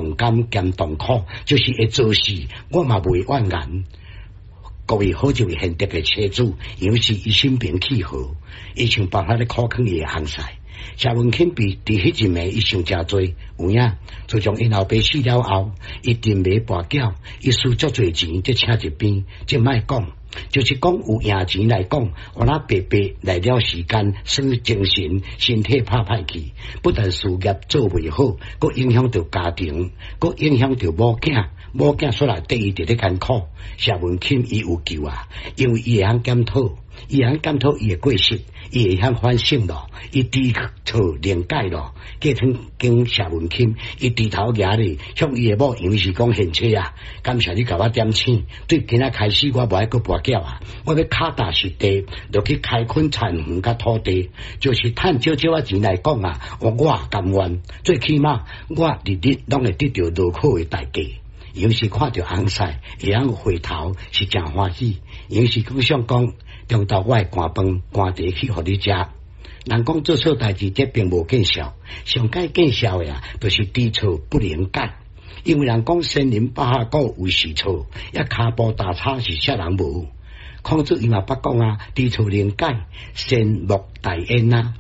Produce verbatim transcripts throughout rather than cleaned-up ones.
同甘兼同苦，就是會做事，我嘛袂怨言。各位好一位賢德的妻子，楊氏伊心平氣和，伊想辦法咧苦勸伊的翁婿。謝文慶比佇彼一暝，伊想誠濟，有影。自從𪜶老爸死了後，伊沉迷跋筊，伊輸足濟錢，才請一邊，這莫講，就是講有贏錢來講，予若白白來了時間，耍精神，身體拍歹去，不但事業做袂好，閣影響著家庭，閣影響著某囝，某囝煞來綴伊佇咧艱苦。謝文慶伊有救啊，因為伊會曉檢討，伊會曉檢討伊的過失，伊會曉反省咯，伊知錯能改咯。隔天經謝文慶，伊低頭舉咧，向伊的某楊氏講賢妻啊，感謝你共我點醒，對今仔開始我無愛閣跋筊啊，我欲跤踏實地，落去開墾田園佮土地，就是趁少少仔錢來講啊，我我甘願，最起碼我日日攏會得著勞苦的代價。楊氏看著翁婿會曉回頭，是誠歡喜。楊氏閣想講，中晝我會寒飯寒茶去予你食。人講做錯代誌，這並無見笑，上蓋見笑的啊，就是知錯不能改。因為人講仙人百合果有時錯，抑跤步大差是啥人無？孔子伊嘛捌講啊，知錯能改，善莫大焉啊。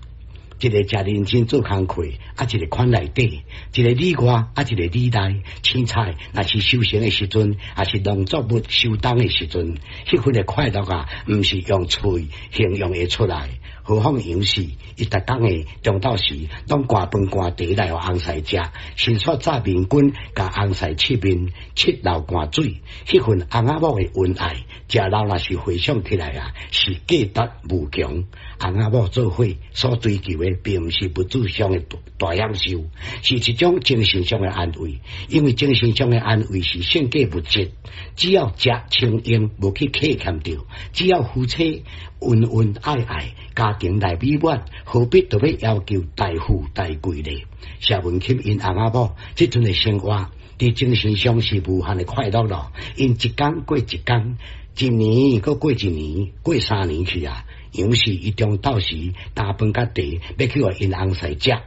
一个誠認真做工課，啊，一个款內底，一個裡外，啊，一個裡內。凊彩若是收成的時陣，抑是農作物收冬的時陣，彼份的快樂啊，毋是用喙形容會出來。何況楊氏，伊逐工的中晝時，攏寒飯寒茶來予翁婿食，先煞炸麵棍，共翁婿拭面，拭流汗水，彼份翁仔某的恩愛，食老若是回想起來啊，是價值無窮。翁仔某做伙所追求的，並毋是物質上的大享受，是一種精神上的安慰。因為精神上的安慰是勝過物質。只要食穿用，無去客欠著，只要夫妻恩恩愛愛，家庭來美滿，何必著欲要求大富大貴呢？謝文琴𪜶翁仔某這陣的生活，佇精神上是無限的快樂咯。𪜶一工過一工，一年閣過一年，過三年去啊。楊氏伊中晝時擔飯佮茶，欲去予𪜶翁婿食。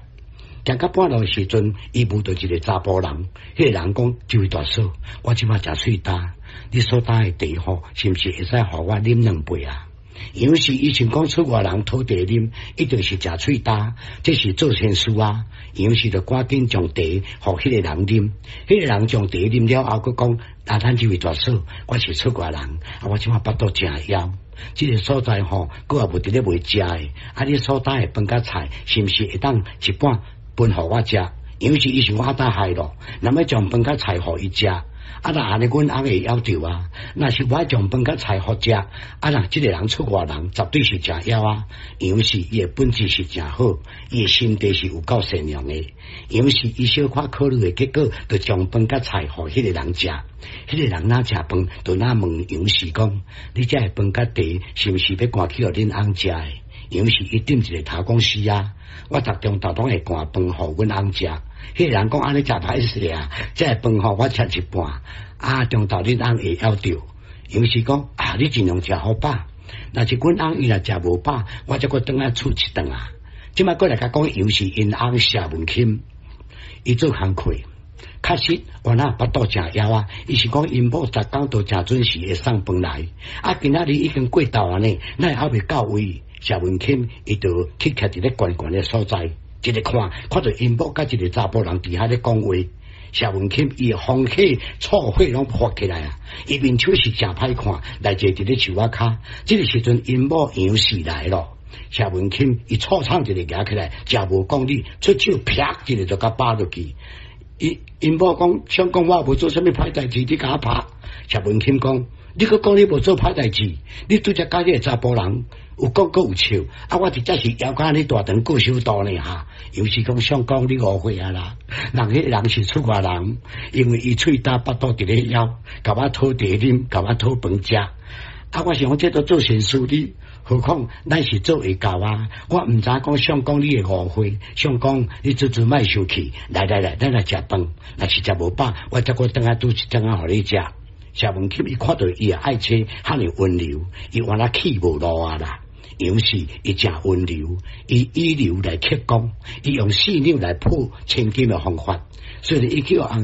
行到半路的時陣，伊遇著一个查埔人，彼个人講：這位大嫂，我這擺誠喙焦，你所擔的茶吼，是毋是會使予我啉兩杯啊？楊氏伊想講出外人討茶啉，一定是誠喙焦，這是做善事啊。楊氏就趕緊將茶予彼个人啉，彼个人將茶啉了後，閣講：啊，咱這位大嫂，我是出外人，啊，我這擺腹肚誠枵。這个所在吼，閣也無佇咧賣食的，啊，你所擔的飯佮菜，是毋是會當一半分予我食？楊氏伊想講啊，害咯，若欲將飯佮菜予伊食，啊，若按呢，阮翁會枵著啊。若是無愛將飯佮菜予食，啊，若這个人出外人，絕對是誠枵啊。楊氏伊的本質是誠好，伊的心地是有夠善良的。楊氏伊小可考慮的結果，就將飯佮菜予彼个人食。彼个人若食飯，就若問楊氏講：你這个飯佮茶，是毋是欲寒去予恁翁食的？楊氏伊點一个頭講是啊，我逐中晝攏會寒飯予阮翁食。彼个人講按呢誠歹勢啊，這个飯予我食一半，啊，中晝恁翁會枵著。楊氏講啊，你盡量食予飽，若是阮翁伊若食無飽，我才閣轉來厝一頓啊。這擺閣來共講，楊氏𪜶翁謝文钦，伊做工課。確實，原來腹肚誠枵啊！伊是講𪜶某逐工都誠準時會送飯來，啊，今仔日已經過晝啊呢，哪會猶未到位？謝文钦伊就去徛佇咧懸懸的所在，一个看，看著𪜶某佮一个查埔人佇遐咧講話。謝文钦伊的風火醋火攏發起來啊！伊面手是誠歹看，來坐佇咧樹仔跤。這个時陣𪜶某楊氏來咯。謝文钦伊醋廠一个舉起來，誠無講理，出手啪一个就共拍落去。伊𪜶某講，想講我無做啥物歹代誌，你共我拍。謝文钦講，你閣講你無做歹代誌，你拄才佮彼个查埔人有講閣有笑，啊！我直接是枵甲按呢大腸過傷大呢哈。楊氏講相公你誤會啊啦，人彼个人是出外人，因為伊喙焦腹肚佇咧枵，共我討茶啉，共我討飯食。啊！我想講這都做善事，你何況咱是做會到啊！我毋知講相公你會誤會，相公你做做莫生氣，來來來，咱來食飯。若是食無飽，我才閣轉來煮一頓仔予你食。謝文钦伊看著伊的愛妻遐爾溫柔，伊原來氣無路啊啦。楊氏伊誠溫柔，伊以柔來克剛，伊用細膩來破千金的方法，所以伊去予翁